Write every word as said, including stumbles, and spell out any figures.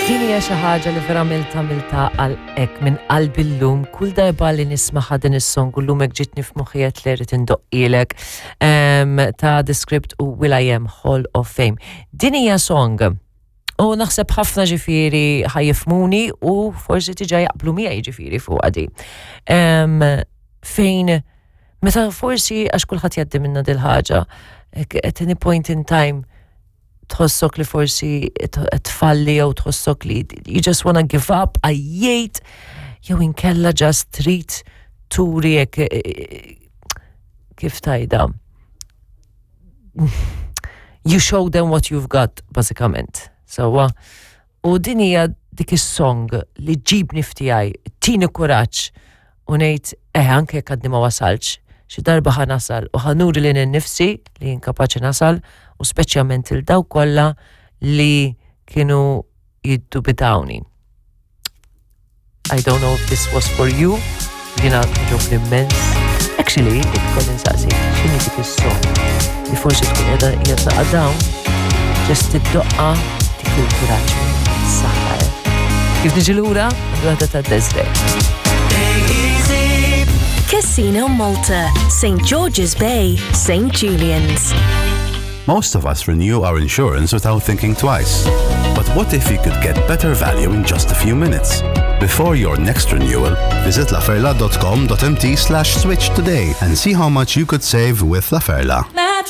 Din hija xi ħaġa li verament għamilta għal hekk minn qalbi llum, kull darba li nismaħa din is-song u llum hekk ġitni f'moħħi qed li rrid indoqqhielek em, ta' The Script u Will I Am, Hall of Fame. Din hija song u naħseb ħafna ġifieri ħa jifhmuni u forsi diġà jaqblu miegħi ġifieri fuq għadi. Em, fejn meta forsi, għax kulħadd jgħaddi minna dil-ħaġa, hekk at any point in time tħossok li forsi tfalli jew tħossok li you just wanna give up, għajjejt, jew inkella just trid turi hekk, eh, kif tgħidha. You show them what you've got, bażikament. So, u din hija dik is-song li ġibni f'tiegħi, tini kuraġġ u ngħid eh anke jekk għadni ma wasalx, xi darba ħa nasal u ħa nuri lili nnifsi li jien kapaċi nasal u speċjalment lil dawk kollha li kienu jiddubitawni. I don't know if this was for you, jiena ġobni immens. Actually, ikkolli nsaqsi, x'inhi dik is-song li forsi tkun qiegħda qiegħda naqa' down, just id-doqqa dik il-kuraġġ saħħa. eh. Kif niġi lura, għandu għadda ta' Desiree. Casino Malta, Saint George's Bay, Saint Julian's. Most of us renew our insurance without thinking twice. But what if you could get better value in just a few minutes? Before your next renewal, visit laferla dot com dot M T slash switch today and see how much you could save with La Ferla.